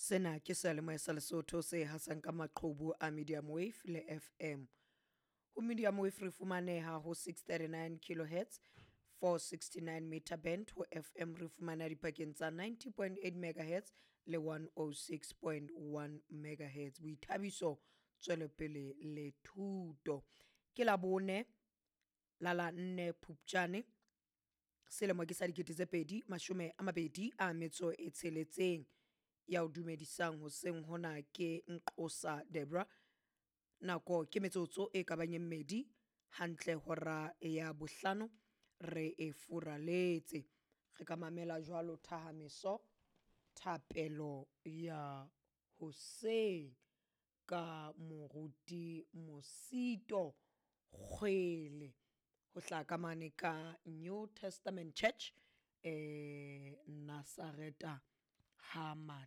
Sena ke seyalemoya sa Lesotho se hasang ka maqhubu a medium wave le FM. Ho medium wave re fumaneha ho 639 kilohertz 469 meter band, ho FM re fumana dipakeng tsa 90.8 megahertz le 106.1 megahertz. Boithabiso, tswelopele le thuto. Ke la bone la la nne Phupjane selemo ke sa 2026. Ya o dumedisang hoseng hona ke Nqosa Debra. Nako ke metsotso e ka bang e mmedi hantle hora ya bohlano re e furaletse. Re ka mamela jwalo thahameso thapelo ya hoseng ka moruti Mosito Kgwele ho hlaha ka mane ka New Testament Church Nazareta ha Matema.